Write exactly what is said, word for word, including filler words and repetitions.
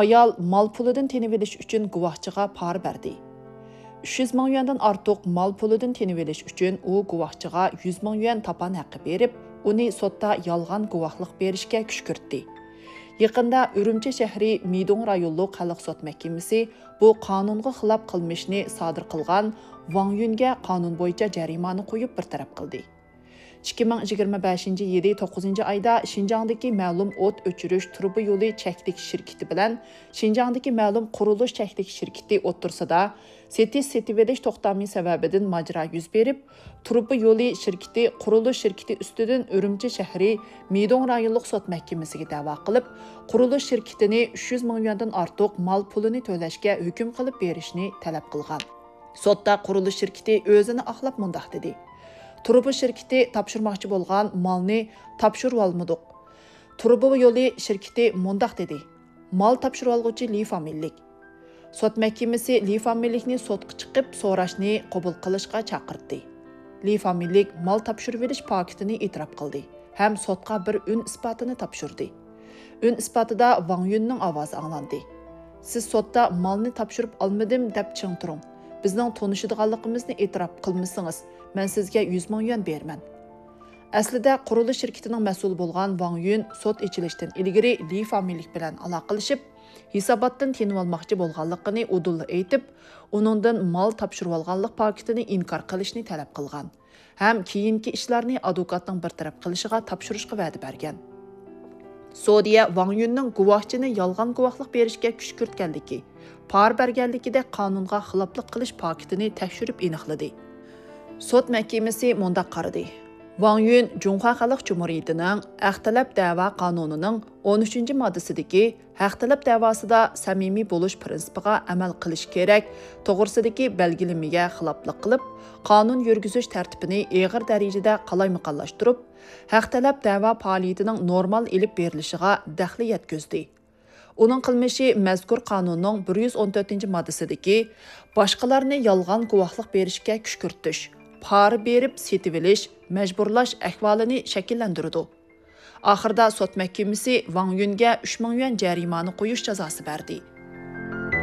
ئايال مال پۇلىدىن تىنىۋېلىش ئۈچۈن گۇۋاھچىغا پارا بەردى. ئۈچ يۈز مىڭ يۈەندىن ئارتۇق مال پۇلىدىن تىنىۋېلىش ئۈچۈن ئۇ گۇۋاھچىغا يۈز مىڭ يۈەن تاپان ھەققى بېرىپ، ئۇنى سوتتا يالغان گۇۋاھلىق بېرىشكە كۈشكۈرتتى. يېقىندا ئۈرۈمچى شەھىرى مىدوڭ رايونلۇق خەلق سوت مەھكىمىسى بۇ قانۇنغا خىلاپ قىلمىشنى سادىر قىلغان ۋاڭ يۈنگە قانۇن بويىچە جەرىمانە قويۇپ بىر تەرەپ قىلدى. ئىككى مىڭ يىگىرمە بەشىنچى يىلى توققۇزىنچى ئايدا شىنجاڭدىكى مەلۇم ئوت ئۆچۈرۈش تۇرۇبا يولى چەكلىك شىركىتى بىلەن شىنجاڭدىكى مەلۇم قۇرۇلۇش چەكلىك شىركىتى ئوتتۇرىسىدا سېتىش-سېتىۋېلىش توختامى سەۋەبىدىن ماجىرا يۈز بېرىپ، تۇرۇبا يولى شىركىتى قۇرۇلۇش شىركىتى ئۈستىدىن ئۈرۈمچى شەھىرى مىدوڭ رايونلۇق سوت مەھكىمىسىگە دەۋا قىلىپ، قۇرۇلۇش شىركىتىنى ئۈچ يۈز مىڭ يۈەندىن ئارتۇق مال پۇلىنى تۆلەشكە ھۆكۈم قىلىپ بېرىشنى تەلەپ قىلغان. سوتتا قۇرۇلۇش شىركىتى ئۆزىنى ئاقلاپ مۇنداق دېدى: تۇرۇبا شىركىتى تاپشۇرماقچى بولغان مالنى تاپشۇرۇۋالمىدۇق. تۇرۇبا يولى شىركىتى مۇنداق دېدى: مال تاپشۇرۇۋالغۇچى لى فامىلىلىك. سوت مەھكىمىسى لى فامىلىلىكنى سوتقا چىقىپ سوراشنى قوبۇل قىلىشقا چاقىرتتى. لى فامىلىلىك مال تاپشۇرۇۋېلىش پاكىتىنى ئېتىراپ قىلدى ھەم سوتقا بىر ئۈن ئىسپاتىنى تاپشۇردى. ئۈن ئىسپاتىدا ۋاڭ يۈننىڭ ئاۋازى ئاڭلاندى: سىز سوتتا مالنى تاپشۇرۇپ ئالمىدىم دەپ چىڭ تۇرۇڭ. بىزنىڭ تونۇشىدىغانلىقىمىزنى ئېتىراپ قىلمىسىڭىز، مەن سىزگە يۈز مىڭ يۈەن بېرىمەن. ئەسلىدە قۇرۇلۇش شىركىتىنىڭ مەسئۇلى بولغان ۋاڭ يۈن سوت ئېچىلىشتىن ئىلگىرى لى فامىلىلىك بىلەن ئالاقىلىشىپ، ھېساباتتىن تىنىۋالماقچى بولغانلىقىنى ئۇدۇللا ئېيتىپ، ئۇنىڭدىن مال تاپشۇرۇۋالغانلىق پاكىتىنى ئىنكار قىلىشنى تەلەپ قىلغان ھەم كېيىنكى ئىشلارنى ئادۋوكاتنىڭ بىر تەرەپ قىلىشىغا تاپشۇرۇشقا ۋەدە بەرگەن. سودىيە ۋاڭ يۈننىڭ گۇۋاھچىنى يالغان گۇۋاھلىق بېرىشكە كۈشكۈرتكەنلىكى، پارا بەرگەنلىكىدەك قانۇنغا خىلاپلىق قىلىش پاكىتىنى تەكشۈرۈپ ئېنىقلىدى. سوت مەھكىمىسى مۇنداق قارىدى: ۋاڭ يۈن جۇڭخۇا خەلق جۇمھۇرىيىتىنىڭ ھەق تەلەپ دەۋا قانۇنىنىڭ ئون ئۈچىنچى ماددىسىدىكى ھەق تەلەپ دەۋاسىدا سەمىمىي بولۇش پىرىنسىپىغا ئەمەل قىلىش كېرەك توغرىسىدىكى بەلگىلىمىگە خىلاپلىق قىلىپ، قانۇن يۈرگۈزۈش تەرتىپىنى ئېغىر دەرىجىدە قالايمىقانلاشتۇرۇپ، ھەق تەلەپ دەۋا پائالىيىتىنىڭ نورمال ئېلىپ بېرىلىشىغا دەخلى يەتكۈزدى. ئۇنىڭ قىلمىشى مەزكۇر قانۇننىڭ بىر يۈز ئون تۆتىنچى ماددىسىدىكى باشقىلارنى يالغان گۇۋاھلىق بېرىشكە كۈشكۈرتۈش، پارا بېرىپ سېتىۋېلىش، مەجبۇرلاش ئەھۋالىنى شەكىللەندۈرىدۇ. ئاخىرىدا سوت مەھكىمىسى ۋاڭ يۈنگە ئۈچ مىڭ يۈەن جەرىمانە قويۇش جازاسى بەردى.